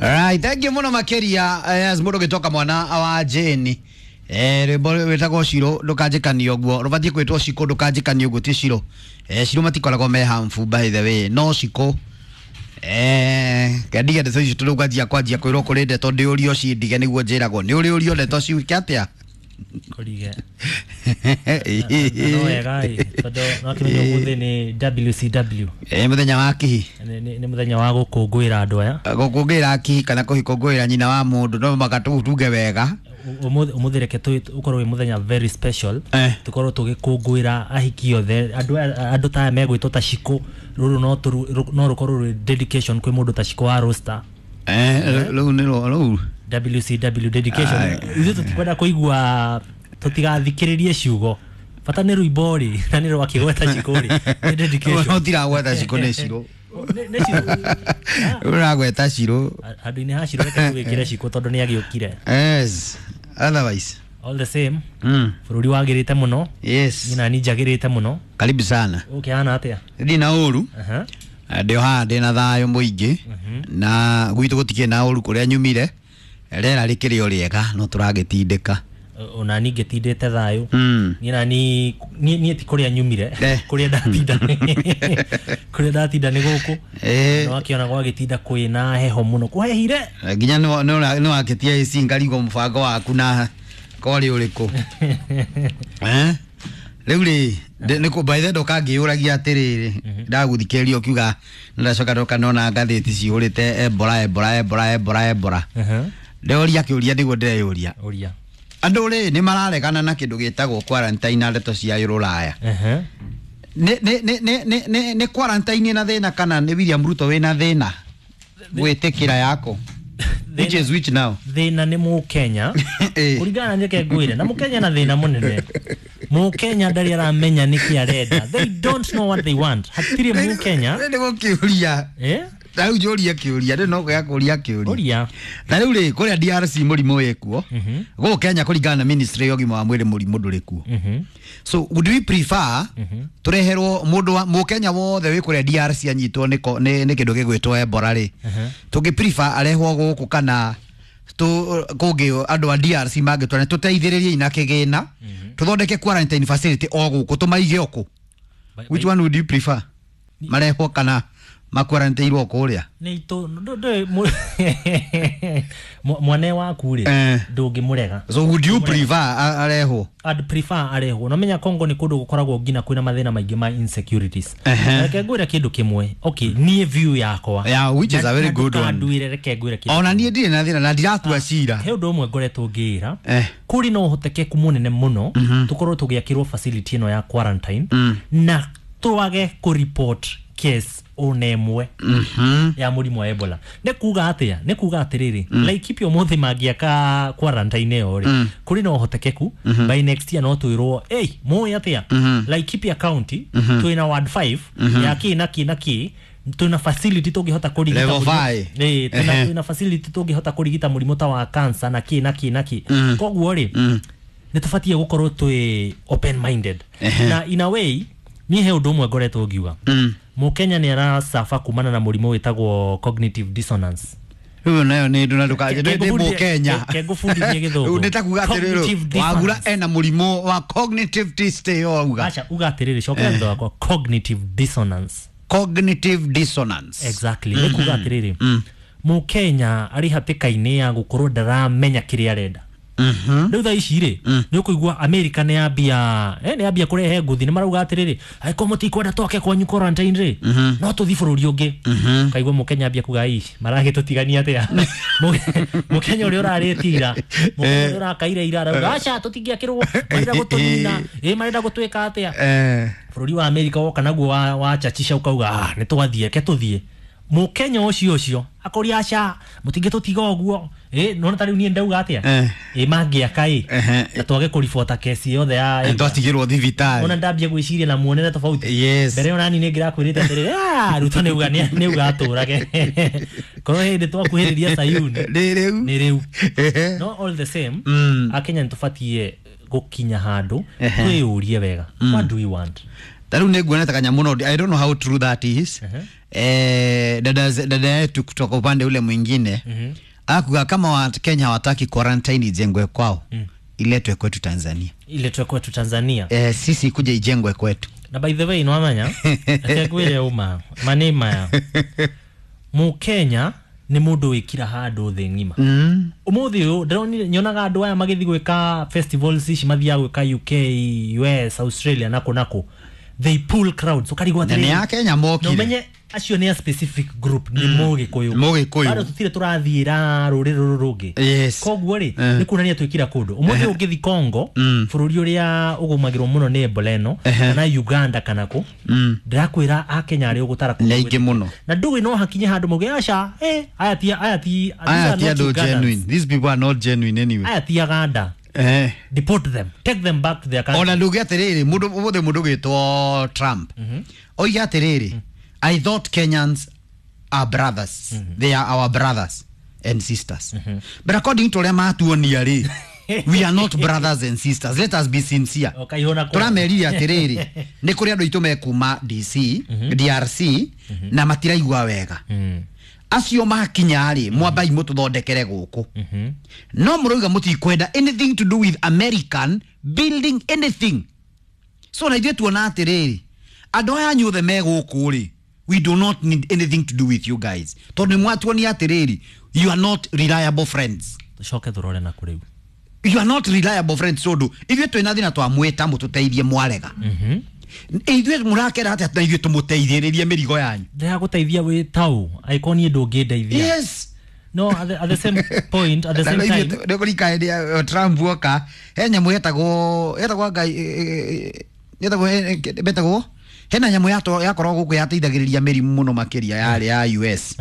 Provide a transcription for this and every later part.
Right, thank you muno makiria as mundu gitoka mwana wa Jane. Rwimbo witagwo Ciro ndukanjikanie uguo, rubatie kwitwo Ciko ndukanjikanie uguo, ti Ciro. Ciro matikoragwo me harmful by the way, no Ciko. Kendige ndeto icio tondu ngwanjia kwanjia kwirwo kuri ndeto ndiurio cindige niguo njiragwo ni uri urio ndeto ciuke atia. Kũrige. No wega ĩ, tondũ no kĩmenya ũmũthĩ nĩ WCW. Muthenya wa kihi. Nĩ mũthenya wa gũkũngũĩra andũ aya. Gũkũngũĩra kihi kana kũhikũngũĩra nyina wa mũndũ no mũhaka tuge wega. Ũmũthĩ reke ũkorwo wĩ mũthenya very special. Tũkorwo tũgĩkũngũĩra ahiki othe, andũ ta aya megwĩtwo ta Shiko. Rũrũ no rũkorwo rwĩ dedication kwĩ mũndũ ta Shiko wa Roaster. Rũu nĩ rũu WCW dedication. Ithuĩ tũtikwenda kũigua, tũtigathikĩrĩrie ciugo, bata nĩ rwĩmbo rĩ, na nĩ rwakĩgweta Shiko rĩ, nĩ dedication. No tiragweta Shiko, nĩ Ciro. Nĩ Ciro. Ũragweta Ciro. Handũ-inĩ ha Ciro reke tũgĩkĩre Shiko tondũ nĩ agĩũkire. Yes, otherwise all the same, bũrũri wagĩrĩte mũno. Yes. Nyina ni njagĩrĩte mũno. Karibu sana. Ũkĩhana atĩa? Ndina ũru. Ndĩ o haha ndĩna thayũ mũingĩ, na gwitũ gũtikĩrĩ na ũru kũrĩa nyumire, rĩera rĩkĩrĩ o rĩega no tũragĩtindĩka. Ona niĩ ngĩtindĩte thayũ. Niĩ na niĩ ti kũrĩa nyumire, kũrĩa ndatinda, kũrĩa ndatinda nĩ gũkũ. No akĩona gwagĩtinda kwĩna heho mũno, kũhehire nginya nĩ wakĩtia AC ngarigwo mũbango waku na korĩ ũrĩkũ. Rĩu rĩ, nĩ by the ndoka ngĩyũragia atĩrĩrĩ, ndagũthikĩrĩria ũkiuga ndacoka ndoka nona ngathĩti cihũrĩte Ebola Ebola Ebola Ebola Ebola. Ndeũria kĩũria nĩguo ndĩreyũria. Ũria. Andũ rĩ nĩ mararegana na kĩndũ gĩtagwo quarantine na ndeto cia rũraya. Nĩ quarantine na thĩna kana nĩ William Ruto wĩna thĩna gwĩtĩkĩra yako? Which is which now? Thĩna nĩ Mũkenya. Kũringana na reke ngwĩre, na Mũkenya na thĩna mũnene. Mũkenya ndarĩ aramenya nĩkĩ arenda. They don't know what they want. Hatirĩ Mũkenya. Nĩ gũkĩũria. Ta rĩu njũrie kĩũria, rĩu no kũgĩa kũria kĩũria. Ũria. Ta rĩu rĩ, kũrĩa DRC mũrimũ wĩkuo, gũkũ Kenya kũringana na ministry ya ũgima wa mwĩrĩ mũrimũ ndũrĩ kuo. So would we prefer tũreherwo mũndũ wa Mũkenya wothe wĩ kũrĩa DRC anyitwo nĩ kĩndũ gĩgwĩtwo Ebola rĩ, tũngĩ prefer arehwo gũkũ kana kũngĩ andũ a DRC mangĩtwara tũteithĩrĩrie na kĩgĩna, tũthondeke quarantine facility o gũkũ tũmaige o kũ? Which one would you prefer? Marehwo kana makwarantairwo kũrĩa? Nĩ mwana waku rĩ, ndũngĩmũrega. So would you prefer arehwo? I'd prefer arehwo. No menya Congo nĩ kũndũ gũkoragwo nginya kwĩna mathĩna maingĩ ma insecurities. Reke ngwĩre kĩndũ kĩmwe. Okay, niĩ view yakwa. Yeah, which is a very good one. Nduire reke ngwĩre kĩndũ. Ona niĩ ndirĩ na thĩna na ndiratua cira. He ũndũ ũmwe ngoretwo ngĩĩra. Kũrĩ na ũhotekeku mũnene mũno tũkorwo tũgĩakĩrwo facility ĩno ya quarantine na twage kũ-report case ona ĩmwe ya mũrimũ wa Ebola. Nĩ kuga atĩa? Nĩ kuga atĩrĩrĩ, Laikipia ũmũthĩ mangĩaka quarantine ĩyo rĩ, kũrĩ na ũhotekeku by next year no twĩrwo, hey, mũĩ atĩa? Laikipia County twĩna ward 5 ya kĩ na kĩ na kĩ, twĩna facility tũngĩhota kũrigita level 5. Twĩna facility tũngĩhota kũrigita mũrimũ ta wa cancer na kĩ na kĩ na kĩ. Koguo rĩ, nĩ tũbatiĩ gũkorwo twĩ open minded. Na in a way, niĩ he ũndũ ũmwe ngoretwo ngiuga. Mũkenya nĩ aracaba kumana na mũrimũ wĩtagwo cognitive dissonance. Rĩu nayo nĩ ndũ na ndũkanjĩ ndĩ Mũkenya. Kengũbundithie gĩthũngũ. Nĩ ta kuga atĩrĩrĩ, Wagura ena mũrimũ wa cognitive dissonance auga. Aca, uga atĩrĩrĩ, cokera thutha wakwa, cognitive dissonance. Cognitive dissonance. Exactly. Nĩ kuga atĩrĩrĩ, Mũkenya arĩ hatĩka-inĩ ya gũkorwo ndaramenya kĩrĩa arenda. Rĩu thaa ici rĩ, nĩ ũkũigua America nĩ yambia, nĩ yambia kũrehe nguthi, nĩ marauga atĩrĩrĩ, angĩkorwo mũtikwenda twake kwanyu quarantine rĩ, no tũthiĩ bũrũri ũngĩ. Kaigua Mũkenya ambia kuga, ii maragĩtũtigania atĩa? Mũkenya ũrĩa ũrarĩtira, Mũkenya ũrĩa ũrakaire ira arauga, aca tũtingĩakĩrwo, marenda gũtũnina, marenda gũtwĩka atĩa? Bũrũri wa America woka naguo wa chachisha ũkauga, nĩ twathiĩ, reke tũthiĩ. Mũkenya ũcio ũcio akũria aca mũtingĩtũtiga ũguo, nona ta rĩu niĩ ndauga atĩa, mangĩaka na twage kũribota kesi yothe ya twatigĩrwo thibitarĩ. Ona ndambia gwĩciria na muonere tofauti. Yes. Mbere ona niĩ nĩngĩrakwĩrĩte atĩrĩrĩ, Ruto nĩ uga atũrage. Korwo hĩndĩ twakuhĩrĩria Sayuni nĩ rĩu, nĩ rĩu. No all the same, Akenya nĩ tũbatiĩ gũkinya handũ twĩyũrie wega, what do we want? Ta rĩu nĩ nguona ta kanyamũ no I don't know how true that is. Dada yetu kutoka upande ule mwingine akuga kama wa Kenya hawataki quarantine ijengwe kwao, iletwe kwetu Tanzania. Iletwe kwetu Tanzania. Sisi kuja ijengwe kwetu. Na by the way, nwamanya reke uma mani maya, Mukenya nĩ mũndũ wĩkira handũ thĩ ng'ima. Ũmũthĩ ũyũ ndĩronire nyonaga andũ aya magĩthiĩ gwĩka festivals ici mathiaga gwĩka UK, US, Australia, nako nako, they pull crowds, ũkarigwo Na nĩ atĩrĩrĩ, a Kenya na mokire. ũmenye acio nĩ a specific group, nĩ Mũgĩkũyũ. Mũgĩkũyũ. Bado tũtirĩ tũrathiĩra rũrĩrĩ rũrũ rũngĩ. Koguo rĩ, nĩ kuonania twĩkira kũndũ. Ũmũthĩ ũngĩthi Congo, bũrũri ũrĩa ũgũmagĩrwo mũno nĩ Ebola ĩno, kana Uganda kana kũ, ndĩrakwĩra Akenya arĩa ũgũtara kũndũ Nĩ aingĩ mũno. Na ndũĩ no hakinye handũ mauge aca, aya ti, aya ti, these Aya are ti not andũ Ugandans. genuine. These people are not genuine anyway. Aya ti Aganda. Deport them, take them back to their country. Ona nduge atiriri, mundu umuthi mundu gwitwo Trump oiga atiriri, "I thought Kenyans are brothers. They are our brothers and sisters, but according to uria matuonia ri, we are not brothers and sisters. Let us be sincere." Ũkaihũra kwa- Tũramerire atiriri, nĩ kũrĩ andũ aitũ mekuma DC, DRC, na matiraigua wega. Acio makinya rĩ, mwambai mũtũthondekere gũkũ. No mũrauga mũtikwenda anything to do with American building anything. So na ithuĩ tuona atĩrĩrĩ, andũ aya anyuothe me gũkũ rĩ, we do not need anything to do with you guys, tondũ nĩ mwatuonia atĩrĩrĩ, you are not reliable friends. Tũcoke tũrore na kũrĩu. You are not reliable friends, tondũ ithuĩ twĩna thĩna, twamwĩta mũtũteithie, mwarega. Ithuĩ mũrakera atĩa na ithuĩ tũmũteithĩrĩrie mĩrigo yanyu? Ndĩragũteithia wĩ tau angĩkorwo niĩ ndũngĩndeithia. No at the same point, at the same time, Nĩkũrika hĩndĩ ya Trump oka, he nyamũ yetagwo ngai yetagwo betagwo, hena nyamũ yakoragwo gũkũ yateithagĩrĩria mĩrimũ mũno makĩria, yarĩ ya US.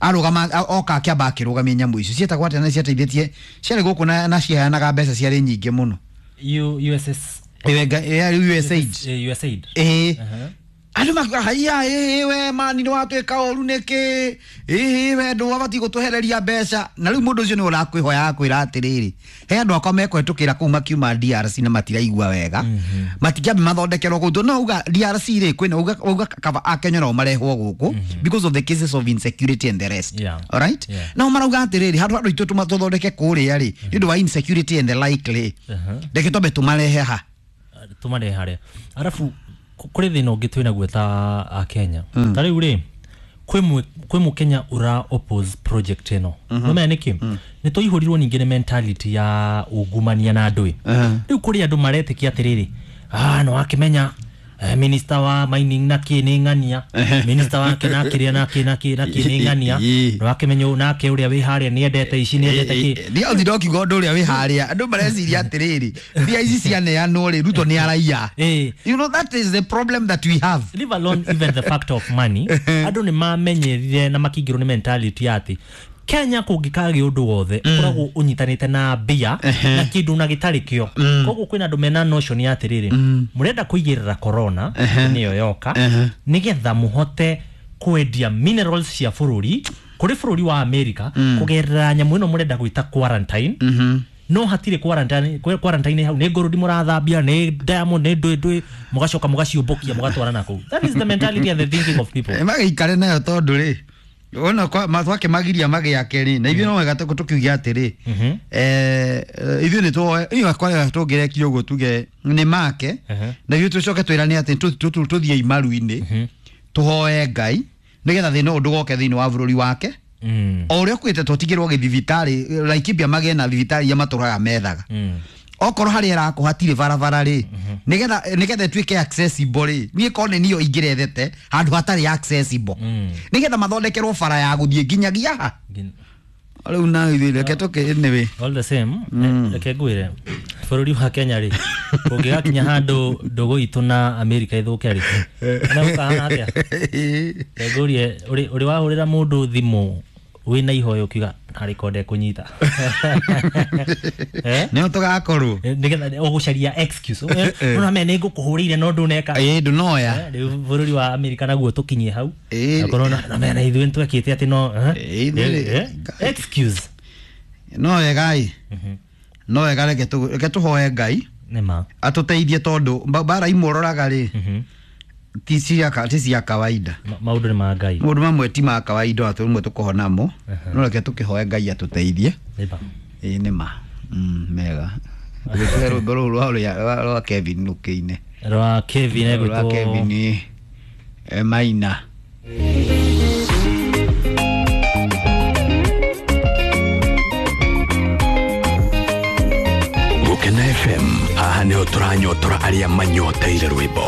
Arũgama oka akĩamba akĩrũgamia nyamũ icio cietagwo atĩa, na ciateithĩtie, ciarĩ gũkũ na ciheanaga mbeca ciarĩ nyingĩ mũno. USS. Yarĩ USAID. USAID. Ĩĩ. Andũ makiuga, "Haiya, ĩĩ we mani, nĩ watuĩka ũru nĩkĩ? Ĩĩ we ndwabatiĩ gũtũhereria mbeca." Na rĩu mũndũ ũcio nĩ ũrakwĩhoya akwĩra atĩrĩrĩ, he andũ akwa mekũhetũkĩra kũu makiuma DRC na matiraigua wega, matingĩambe mathondekerwo kũu. No uga DRC rĩ, kwĩna uga kaba Akenya nao marehwo gũkũ because of the cases of insecurity and the rest. Alright. Nao marauga atĩrĩrĩ, handũ andũ aitũ tũthondeke kũrĩa rĩ, nĩ ũndũ wa insecurity and the like rĩ, reke twambe tũmarehe ha. Tũmarehe harĩa. Arabu kũrĩ thĩna ũngĩ twĩnaguo ta Akenya. Ta rĩu rĩ, kwĩ mũkenya ũra oppose project ĩno. Nĩũmenya nĩkĩ? Nĩ tũihũrirwo ningĩ nĩ mentality ya ungumania na andũ ĩ. Rĩu kũrĩ andũ maretĩkia atĩrĩrĩ, ah, nĩ wakĩmenya, minister wa mining na kĩ nĩ ng'ania, minister wake na kĩrĩa na kĩ na kĩ na kĩ nĩ ng'ania, nĩ wakĩmenya ũyũ nake ũrĩa wĩ harĩa nĩ endete ici, nĩ endete kĩ. Nĩ othi ndokiuga ũndũ ũrĩa wĩ harĩa, andũ mareciria atĩrĩrĩ, mbia ici cianeanwo rĩ, Ruto nĩ araiya. You know, that is the problem that we have. Leave alone even the fact of money, andũ nĩ mamenyerire na makĩingĩrwo nĩ mentality ya atĩ Kenya kũngĩkagĩa ũndũ wothe ũkoragwo ũnyitanĩte na mbia na kĩndũ na gĩtarĩ kĩo. Koguo kwĩna andũ mena notion ya atĩrĩrĩ, mũrenda kũigĩrĩra corona nĩyo yoka nĩgetha mũhote kwendia minerals cia bũrũri kũrĩ bũrũri wa America kũgerera nyamũ ĩno mũrenda gwĩta quarantine. No hatirĩ quarantine. Quarantine hau nĩ ngũrũndi mũrathambia, nĩ diamond, nĩ ndũĩ ndũĩ, mũgacoka mũgaciũmbũkia mũgatwara na kũu. That is the mentality and the thinking of people. Magĩikare nayo, tondũ rĩ, ona twakĩmagiria magĩake rĩ, na ithuĩ no wega tũkiuge atĩrĩ, ithuĩ nĩ tuoe inyuĩ akwa tũngĩrekia ũguo tuge nĩ make, na ithuĩ tũcoke twĩrane atĩ tũthiĩ imaru-inĩ tũhoe Ngai nĩgetha thĩna ũyũ ndũgoke thĩinĩ wa bũrũri wake. O ũrĩa ũkuĩte tũtigĩrwo gĩthibitarĩ Laikipia, magĩe na thibitarĩ iria matũraga methaga. Okorwo harĩa ĩrakwo hatirĩ barabara rĩ, nĩgetha ĩtuĩke accessible rĩ, niĩ korwo nĩ niyo ingĩrethete handũ hatarĩ accessible, nĩgetha mathondekerwo bara ya gũthiĩ nginyagia ha rĩu. Na ithuĩ reke tũkĩ anyway. All the same, reke ngwĩre, bũrũri wa Kenya rĩ, kũngĩgakinya handũ ndũgũ itũ na America ĩthũke rĩ, na gũkahana atĩa? Reke ngũrie, ũrĩ wahũrĩra mũndũ thimũ wĩna ihoya ũkiuga narĩ ko ndekũnyita? Eh? Nĩho tũgakorwo. Nĩgetha ũgũcaria excuse, ũna me nĩ ngũkũhũrĩire no ndũneka. Ĩ, ndũnoya. Rĩu bũrũri wa America naguo tũkinyie hau, akorwo na mena ithuĩ nĩtwekĩte atĩ no Ithuĩ excuse. No wega ĩ, no wega, reke tũhoe Ngai Nĩma. atũteithie, tondũ mbara imwe ũroraga rĩ, Ti cia kawaida. Maũndũ nĩ ma Ngai. Maũndũ mamwe ti ma kawaida ona tũrĩmwe tũkũhonamo, no reke tũkĩhoe Ngai atũteithie. Nĩba. Ĩĩ nĩ ma. Mega. Tũhe rwĩmbo rũu rwa Kevin rũkĩine. Rwa Kevin Rwa egwĩtwo Kevin Maina. Gũkena FM, haha nĩho tũranyotora arĩa manyoteire rwĩmbo.